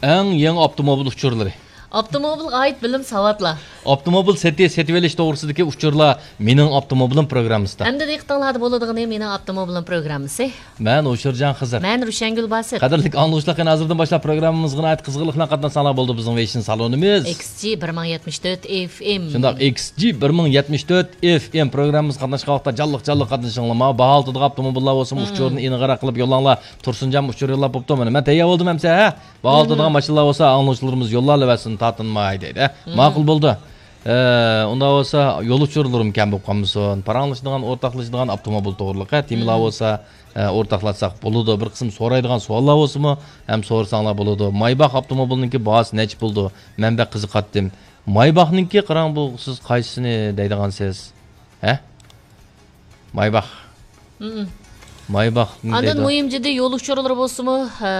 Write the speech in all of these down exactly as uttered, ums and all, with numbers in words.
ئەڭ يېڭى ئاپتوموبىل ئۇچۇرلىرى. ئاپتوموبىلغا ئائىت بىلىم، ساۋاتلار. ئاپتوموبىل سېتىش، سېتىۋېلىش توغرىسىدىكى ئۇچۇرلار مېنىڭ ئاپتوموبىلىم پروگراممىسىدا. ئەمدى دىققىتىڭلاردا بولىدىغىنى مېنىڭ ئاپتوموبىلىم پروگراممىسى. مەن ھوشۇرجان خىزىر. مەن روشەنگۈل باسىت. قەدىرلىك ئاڭلىغۇچىلار، قېنى ھازىردىن باشلاپ پروگراممىمىزغا ناھايىتى قىزغىنلىق بىلەن قاتناشساڭلار بولدى بىزنىڭ ۋېيشىن سالونىمىز. ئېكس جى بىر مىڭ يەتمىش تۆت ئېف ئېم. شۇنداق، ئېكس جى بىر مىڭ يەتمىش تۆت ئېف ئېم پروگراممىمىزغا قاتناشقان ۋاقىتتا جانلىق جانلىق قاتنىشىڭلار. ماۋۇ باھالىتىدىغان ئاپتوموبىللار بولسىمۇ، مم، ئۇچۇرنى ئېنىقراق قىلىپ يوللاڭلار. تۇرسۇنجانمۇ ئۇچۇر يوللاپ بوپتۇ. مانا مەن تەييار بولدۇم ئەمسە، ھە؟ باھالىتىدىغان ماشىنىلار بولسا ئاڭلىغۇچىلىرىمىز يوللاۋەرسۇن، تارتىنماي دەيدۇ، ھە؟ مم. ماقۇل بولدى. ئە، ئۇنداق بولسا يول ئۇچۇرلىرىم كەم بولۇپ قالمىسۇن. پاراڭلىشىدىغان، ئورتاقلىشىدىغان ئاپتوموبىل توغرىلىق، ھە؟ تېمىلار، مم، بولسا، ئە، ئورتاقلاشساق بولىدۇ. بىر قىسىم سورايدىغان سوئاللار بولسىمۇ، ھەم سورىساڭلار بولىدۇ. مايباخ ئاپتوموبىلىنىڭكى باھاسى نەچچە بولىدۇ؟ مەن بەك قىزىقاتتىم. مايباخنىڭكى قاراڭ، بۇ سىز قايسىسىنى دەيدىغانسىز؟ ھە؟ مايباخ. مم. مايباخنى ئاندىن دەيدۇ. مۇھىم جىددىي يول ئۇچۇرلىرى بولسىمۇ، ھە،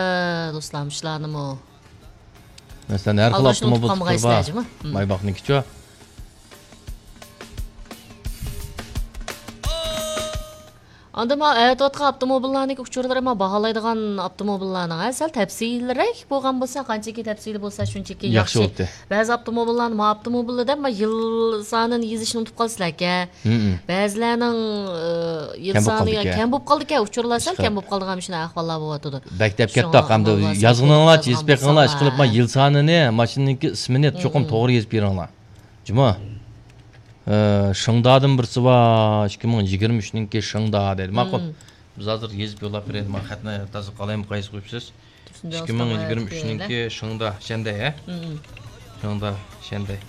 دوستلار، مۇشۇلارنىمۇ مەسىلەن، ھەر خىل ئالداشنى ئۇنتۇپ ئاپتوموبىل قالمىغايسىلەر، تۈرى بار. جۇمۇ. مم. مايباخنىڭكىچۇ؟ ئاندىن مانا ئەۋەتىۋاتقان ئاپتوموبىللارنىڭكى ئۇچۇرلىرى، مانا باھالايدىغان ئاپتوموبىللارنىڭ، ھە، سەل تەپسىلىيرەك بولغان بولسا، قانچىكى تەپسىلىي بولسا، شۇنچىكى ياخشى ياخشى. بولاتتى. بەزى ئاپتوموبىللارنى، مانا ئاپتوموبىلنى دەپ، مانا يىل سانىنى يېزىشنى ئۇنتۇپ قالىسىلەركەن. مم. بەزىلەرنىڭ، ئى، يىل كەم بولۇپ سانى قالدىكەن. كەم بولۇپ قالدىكەن، ئۇچۇرلار سەل ئىشقىلىپ. كەم بولۇپ قالىدىغان مۇشۇنداق ئەھۋاللار بولۇۋاتىدۇ. بەك دەپ شۇڭا كەتتۇق، ئەمدى ئاڭلىغۇلار يازغىنىڭلارچە سەل يېزىپ بېقىڭلار، يازغان ئىشقىلىپ، مانا بولسا. يىل سانىنى، ماشىنىنىڭكى ئىسمىنى چوقۇم مم. توغرا يېزىپ بېرىڭلار. جۇمۇ. ئە، شىڭدادىن بىرسى بار، ئىككى مىڭ يىگىرمە ئۈچنىڭكى شىڭدا دەيدۇ. ماقۇل. مم. بىز ھازىر يېزىپ يوللاپ بېرەيلى. مانا خەتنى تازا قالايمۇ قايسى قويۇپسىز؟ تۇرسۇنجان ئىككى مىڭ يىگىرمە ئۈچنىڭكى شىڭدا، شەندەي، ھە؟ مم. شىڭدا، شەندەي.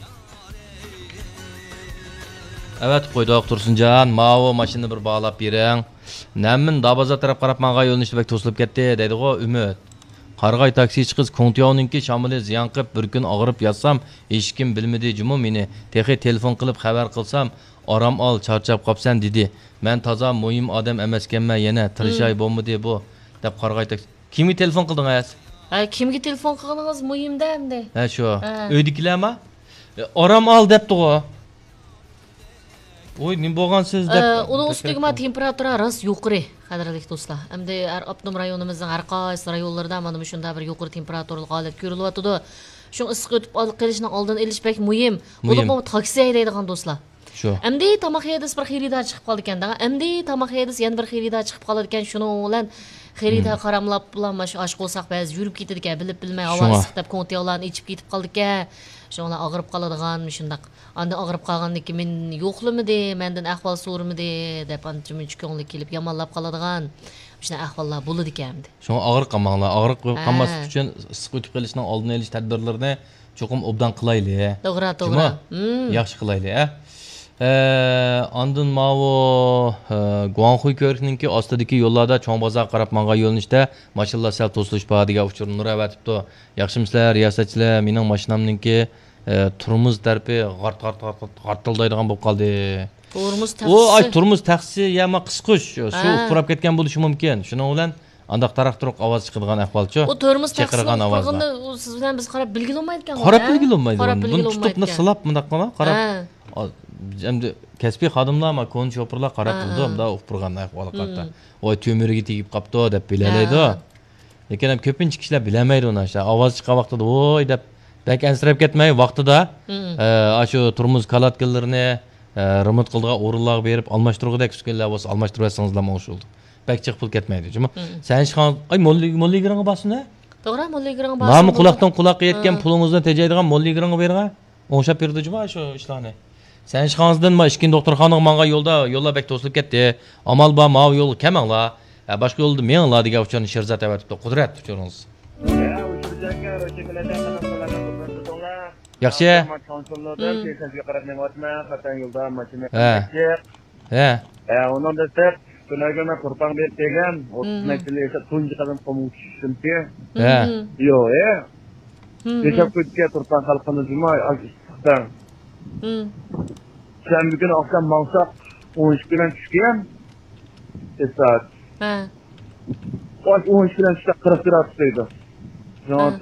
ئەۋەتىپ قويدۇق، تۇرسۇنجان. ماۋۇ ماشىنىنى بىر باھالاپ بېرىڭ. نەمىن دابازار تەرەپ قاراپ ماڭغان يۆنىلىشتە بەك توسۇلۇپ كەتتى، دەيدىغۇ ئۈمىد. قارىغاي تاكسىچى قىز كۇڭتياۋنىڭكى شامىلى زىيان قىپ، بىر كۈن ئاغرىپ ياتسام، ھېچكىم بىلمىدى جۇمۇ مېنى. تېخى تېلېفون قىلىپ خەۋەر قىلسام، ئارام ئال، چارچاپ قاپسەن، دېدى. مەن تازا مۇھىم ئادەم ئەمەسكەنمەن يەنە، تىرىشاي، مم، بولمىدى بۇ، دەپ قارىغاي تاكسى. كىمگە تېلېفون قىلدىڭىز؟ ھە، كىمگە تېلېفون قىلغىنىڭىز مۇھىم-دە ئەمدى. ھە، شۇ. ھە. ئۆيدىكىلەرما؟ ئارام ئال دەپتىغۇ. ۋوي، نېمە بولغانسىز دەپ ئە، ئۇنىڭ ئۈستىگە مانا تېمپېراتۇرا راست يۇقىرى، قەدىرلىك دوستلار. ئەمدى ھەر ئاپتونوم رايونىمىزنىڭ ھەر قايسى رايونلىرىدا مانا مۇشۇنداق بىر يۇقىرى تېمپېراتۇرىلىق ھالەت كۆرۈلۈۋاتىدۇ. شۇڭا ئىسسىق ئۆتۈپ قېلىشنىڭ ئالدىنى ئېلىش بەك مۇھىم. مۇھىم. بولۇپمۇ تاكسى ھەيدەيدىغان دوستلار. شۇ. ئەمدى تاماق ھەيدىسە بىر خېرىدار چىقىپ قالىدىكەن دەڭ. ئەمدى تاماق ھەيدىسە يەنە بىر خېرىدار چىقىپ قالىدىكەن. شۇنىڭ بىلەن خېرىدار، مم، قاراملاپ بىلەن مانا شۇ ئاچ قورساق بەزى يۈرۈپ كېتىدىكەن، بىلىپ بىلمەي ھاۋا، شۇڭا، ئىسسىق دەپ كوڭتياۋلارنى ئېچىپ كېتىپ قالىدىكەن. شۇڭا ئاغرىپ قالىدىغان مۇشۇنداق. ئاندىن ئاغرىپ قالغاندىن كېيىن مېنى يوقلىمىدى، مەندىن ئەھۋال سورىمىدى دەپ ئانچە-مۇنچە كۆڭلى كېلىپ يامانلاپ قالىدىغان مۇشۇنداق ئەھۋاللار بولىدىكەن ئەمدى. شۇڭا ئاغرىپ قالماڭلار. ئاغرىپ قالماسلىق، ھە، ئۈچۈن ئىسسىق ئۆتۈپ قېلىشنىڭ ئالدىنى ئېلىش تەدبىرلىرىنى چوقۇم ئوبدان قىلايلى. توغرا، توغرا. جۇمۇ؟ مم. ياخشى قىلايلى، ھە؟ ئە، ئاندىن ماۋۇ، ئە، گۇاڭخۇي كۆۋرۈكنىڭكى ئاستىدىكى يوللاردا چوڭ بازارغا قاراپ ماڭغان يۆنىلىشتە ماشىنىلار سەل توسۇلۇش بار دېگەن ئۇچۇرنى نۇر ئەۋەتىپتۇ. ياخشىمۇسىلەر، رىياسەتچىلەر؟ مېنىڭ ماشىنامنىڭكى، ئە، تورمۇز تەرىپى غارت، غارت، غارت، غارت، غارتىلدايدىغان بولۇپ قالدى. تورمۇز ئۇ، ئاي، تەخسىسى. تورمۇز تەخسىسى يا ما قىسقۇچ، سۇ، ھە، ئۇپراپ كەتكەن بولۇشى مۇمكىن. شۇنىڭ بىلەن ئانداق تاراق-تۇرۇق ئاۋاز چىقىدىغان ئەھۋالچۇ؟ ئۇ تورمۇز تەخسىسىنى چېقىرغان ئاۋازلار. ئۇپرىغىنىنى ئۇ سىز بىلەن بىز قاراپ بىلگىلى بولمايدىكەن، قاراپ ھە؟ بىلگىلى بولمايدۇ. قاراپ بۇنى بىلگىلى تۇتۇپلا بولمايدىكەن. سىلاپ مۇنداق قىلما، قاراپ. ھە. ئا، ئەمدى كەسپىي خادىملار، ما، كونا شوپۇرلار قاراپ، ھە، تۇرىدۇ، ھە، مۇنداق ئۇپرىغان ئەھۋالغا، ھىم، قارىتا. ۋاي، تۆمۈرگە تېگىپ قاپتۇ دەپ بىلەلەيدۇ. ھە. لېكىن ھەم كۆپىنچە كىشىلەر بىلەلمەيدۇ ئۇنى. ئاشۇ ئاۋاز چىققان ۋاقتىدا ۋوي دەپ بەك ئەنسىرەپ كەتمەي، ۋاقتىدا، مم، ئە، ئاشۇ تورمۇز كالاتكىلىرىنى، ئە، رېمونت قىلىدىغان ئورۇنلارغا بېرىپ ئالماشتۇرغۇدەك ئۈسكۈنىلەر بولسا ئالماشتۇرۇۋەتسىڭىزلا ئوڭشىلىدۇ. بەك جىق پۇل كەتمەيدۇ. جۇمۇ. مم. سەن ئىشخانا، ئاي، موللا، موللا يىگىرىڭگە بارسۇن ھە؟ توغرا، موللا يىگىرىڭگە بارسۇن. نامى قۇلاقتىن قۇلاققا يەتكەن، ھە، پۇلىڭىزنى تېجەيدىغان موللا يىگىرىڭگە بېرىڭە. ئوڭشاپ بېرىدۇ جۇما شۇ ئىشلارنى. سەن ئىشخانىسىدىن ما ئىككىنچى دوختۇرخانىغا ماڭغان يولدا، يوللار بەك توسۇلۇپ كەتتى. ئامال بار، ماۋۇ يولغا كەلمەڭلار. ھە، باشقا يولدا مېڭىڭلار دېگەن ئۇچۇرنى شىرزات ئەۋەتىپتۇ. قۇدرەت ئۇچۇرىڭىز. ياخشى. ھە. ھە. ھە، ئۇنىڭ دەسلەپ تۈنەگۈن مەن تۇرپان بېرىپ كەلگەن، ئوتتۇز، مم، نەچچە يىل ياشاپ، تۇنجى قەدەم قۇمغا چۈشتۈمكى. ھە. مم. يوق، ھە. مم. ياشاپ كېتىدىكەن تۇرپان خەلقىنى جۇما، ئاز ئىسسىقتا. مم. شەنبە كۈنى ئاخشام ماڭساق، ئون ئىككى بىلەن چۈشكەن. سائەت. ھە. ئون ئىككى بىلەن چۈشتە قىرىق گرادۇس دەيدۇ. شۇڭا، ھە.